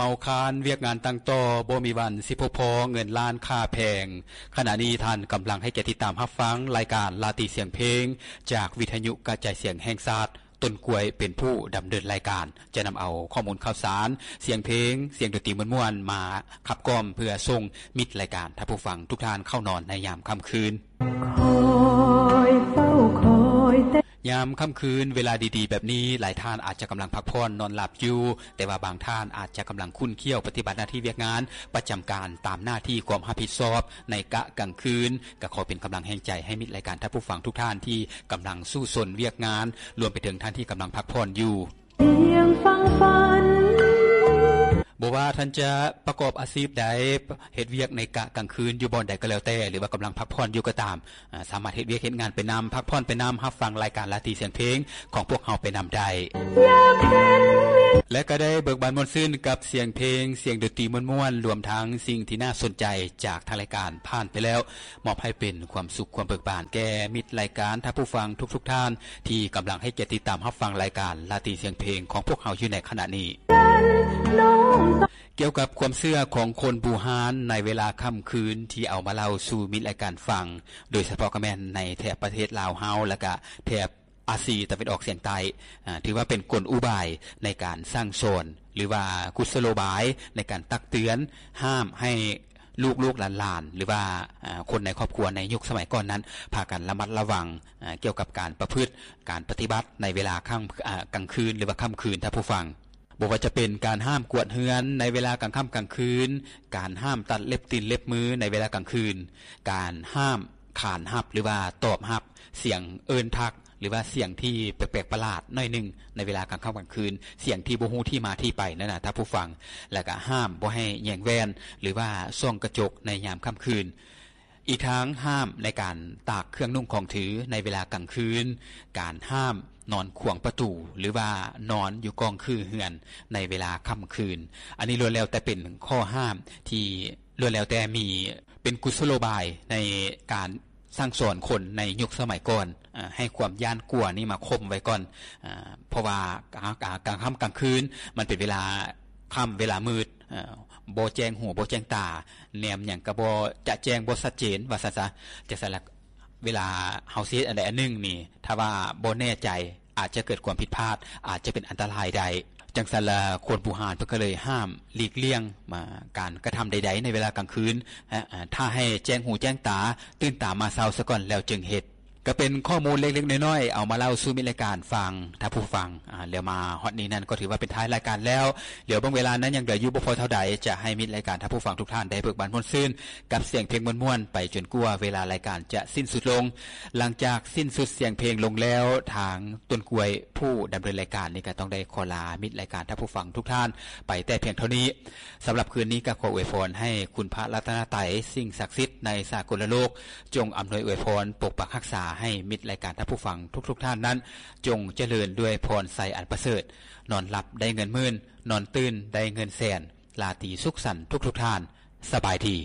ເມົາຄານວຽກງານຕັ້ງຕໍ່ ບໍ່ມີວັນຊິພົບພໍ້ ເງິນລ້ານຄ່າແພງ. ຂະນະນີ້ທ່ານກຳລັງໃຫ້ກຽດຕິດຕາມຮັບຟັງລາຍການລາຕີສຽງເພງ ຈາກວິທະຍຸກະຈາຍສຽງແຫ່ງຊາດ. ຕົ້ນກ້ວຍເປັນຜູ້ດຳເນີນລາຍການ ຈະນຳເອົາຂໍ້ມູນຂ່າວສານ, ສຽງເພງ, ສຽງດົນຕີມ່ວນໆ ມາຂັບກ່ອມ ເພື່ອສົ່ງມິດລາຍການທ່ານຜູ້ຟັງທຸກທ່ານເຂົ້ານອນໃນຍາມຄ່ຳຄືນ. ຍາມຄ່ຳຄືນເວລາດີໆແບບນີ້ ຫຼາຍທ່ານອາດຈະກຳລັງພັກຜ່ອນນອນຫຼັບຢູ່, ແຕ່ວ່າບາງທ່ານອາດຈະກຳລັງຂຸ້ນຂ້ຽວປະຕິບັດໜ້າທີ່ວຽກງານປະຈຳການຕາມໜ້າທີ່ຄວາມຮັບຜິດຊອບໃນກະກາງຄືນ. ກໍຂໍເປັນກຳລັງແຮງໃຈໃຫ້ມິດລາຍການທ່ານຜູ້ຟັງທຸກທ່ານທີ່ກຳລັງສູ້ຊົນວຽກງານ, ລວມໄປເຖິງທ່ານທີ່ກຳລັງພັກຜ່ອນຢູ່. ບໍ່ວ່າທ່ານຈະປະກອບອາຊີບໃດ, ເຮັດວຽກໃນກະກາງຄືນຢູ່ບ່ອນໃດກໍແລ້ວແຕ່ ຫຼືວ່າກຳລັງພັກຜ່ອນຢູ່ກໍຕາມ, ອາ, ສາມາດເຮັດວຽກເຮັດງານໄປນຳ, ພັກຜ່ອນໄປນຳ, ຮັບຟັງລາຍການລາຕີສຽງເພງຂອງພວກເຮົາໄປນຳໄດ້ ແລະ ກໍໄດ້ເບີກບານມ່ວນຊື່ນກັບສຽງເພງ, ສຽງດົນຕີມ່ວນໆ, ລວມທັງສິ່ງທີ່ໜ້າສົນໃຈຈາກທາງລາຍການຜ່ານໄປແລ້ວ, ມອບໃຫ້ເປັນຄວາມສຸກຄວາມເບີກບານແກ່ມິດລາຍການທ່ານຜູ້ຟັງທຸກໆທ່ານ ທີ່ກຳລັງໃຫ້ກຽດຕິດຕາມຮັບຟັງລາຍການລາຕີສຽງເພງຂອງພວກເຮົາຢູ່ໃນຂະນະນີ້. ກ່ຽວກັບຄວາມເຊື່ອຂອງຄົນບູຮານໃນເວລາຄ່ຳຄືນ ທີ່ເອົາມາເລົ່າສູ່ມິດລາຍການຟັງ, ໂດຍສະເພາະກໍແມ່ນໃນແຖບປະເທດລາວເຮົາ ແລະ ກະແຖບອາຊີຕາເວັນອອກສຽງໃຕ້, ອາ, ຖືວ່າເປັນກົນອຸບາຍໃນການສັ່ງສອນ ຫຼືວ່າກຸດສະໂລບາຍໃນການຕັກເຕືອນ, ຫ້າມໃຫ້ລູກໆຫຼານໆ ຫຼືວ່າ, ອາ, ຄົນໃນຄອບຄົວໃນຍຸກສະໄໝກ່ອນນັ້ນ ພາກັນລະມັດລະວັງ, ອາ, ກ່ຽວກັບການປະພຶດ, ການປະຕິບັດໃນເວລາຄ່ຳ, ອາ, ກາງຄືນ ຫຼືວ່າຄ່ຳຄືນ ທ່ານຜູ້ຟັງ. ບໍ່ວ່າຈະເປັນການຫ້າມກວາດເຮືອນໃນເວລາກາງຄ່ຳກາງຄືນ, ການຫ້າມຕັດເລັບຕີນເລັບມືໃນເວລາກາງຄືນ, ການຫ້າມຂານຮັບ ຫຼືວ່າຕອບຮັບສຽງເອີ້ນທັກ ຫຼືວ່າສຽງທີ່ແປກໆປະຫຼາດໜ້ອຍໜຶ່ງໃນເວລາກາງຄ່ຳກາງຄືນ, ສຽງທີ່ບໍ່ຮູ້ທີ່ມາທີ່ໄປນັ້ນນະທ່ານຜູ້ຟັງ, ແລ້ວກະຫ້າມບໍ່ໃຫ້ແຍງແວ່ນ ຫຼືວ່າສ່ອງກະຈົກໃນຍາມຄ່ຳຄືນ. ອີກທັງຫ້າມໃນການຕາກເຄື່ອງນຸ່ງຂອງຖືໃນເວລາກາງຄືນ, ການຫ້າມນອນຂວາງປະຕູ ຫຼືວ່ານອນຢູ່ກ້ອງຄືເຮືອນໃນເວລາຄ່ຳຄືນ. ອັນນີ້ລ້ວນແລ້ວແຕ່ເປັນຂໍ້ຫ້າມທີ່ລ້ວນແລ້ວແຕ່ມີ ເປັນກຸດສະໂລບາຍໃນການສັ່ງສອນຄົນໃນຍຸກສະໄໝກ່ອນ, ອາ, ໃຫ້ຄວາມຢ້ານກົວນີ້ມາຂົ່ມໄວ້ກ່ອນ, ອາ, ເພາະວ່າກາງ, ກາງ, ກາງຄ່ຳກາງຄືນມັນເປັນເວລາຄ່ຳ, ເວລາມືດ, ອາ, ບໍ່ແຈ້ງຫູບໍ່ແຈ້ງຕາ, ແນມຫຍັງກໍບໍ່ຈະແຈ້ງ, ບໍ່ຊັດເຈນ ວ່າຊັ້ນຊະ. ຈັ່ງຊັ້ນລະ ເວລາເຮົາຊິເຮັດອັນໃດອັນໜຶ່ງນີ້ ຖ້າວ່າບໍ່ແນ່ໃຈ ອາດຈະເກີດຄວາມຜິດພາດ, ອາດຈະເປັນອັນຕະລາຍໄດ້. ຈັ່ງຊັ້ນລະ ຄົນບູຮານເພິ່ນກໍເລີຍຫ້າມຫຼີກລ່ຽງມາການກະທຳໃດໆໃນເວລາກາງຄືນ, ອາ, ຖ້າໃຫ້ແຈ້ງຫູແຈ້ງຕາ, ຕື່ນຕາມາເຊົ້າສາກ່ອນແລ້ວຈຶ່ງເຮັດ. ກໍເປັນຂໍ້ມູນເລັກໆນ້ອຍໆ ເອົາມາເລົ່າສູ່ມິດລາຍການຟັງ, ທ່ານຜູ້ຟັງ, ອາ, ແລ້ວມາຮອດນີ້ນັ້ນກໍຖືວ່າເປັນທ້າຍລາຍການແລ້ວ. ດຽວເບິ່ງເວລານັ້ນຍັງເຫຼືອຢູ່ບໍ່ພໍເທົ່າໃດ, ຈະໃຫ້ມິດລາຍການທ່ານຜູ້ຟັງທຸກທ່ານໄດ້ເບີກບານມ່ວນຊື່ນກັບສຽງເພງມ່ວນໆ ໄປຈົນກວ່າເວລາລາຍການຈະສິ້ນສຸດລົງ. ຫຼັງຈາກສິ້ນສຸດສຽງເພງລົງແລ້ວ, ທາງຕົ້ນກ້ວຍຜູ້ດຳເນີນລາຍການນີ້ກໍຕ້ອງໄດ້ຂໍລາມິດລາຍການທ່ານຜູ້ຟັງທຸກທ່ານໄປແຕ່ພຽງເທົ່ານີ້. ສຳລັບຄືນນີ້ກໍຂໍອວຍພອນໃຫ້ຄຸນພະລັດຕະນະໄຕ, ສິ່ງສັກສິດໃນສາກົນລະໂລກ, ຈົ່ງອຳນວຍອວຍພອນປົກປັກຮັກສາໃຫ້ມິດລາຍການທ່ານຜູ້ຟັງທຸກໆທ່ານນັ້ນ, ຈົ່ງຈະເລີນດ້ວຍພອນໄຊອັນປະເສີດ, ນອນຫຼັບໄດ້ເງິນໝື່ນ, ນອນຕື່ນໄດ້ເງິນແສນ. ລາຕີສຸກສັນທຸກໆທ່ານ. ສະບາຍດີ.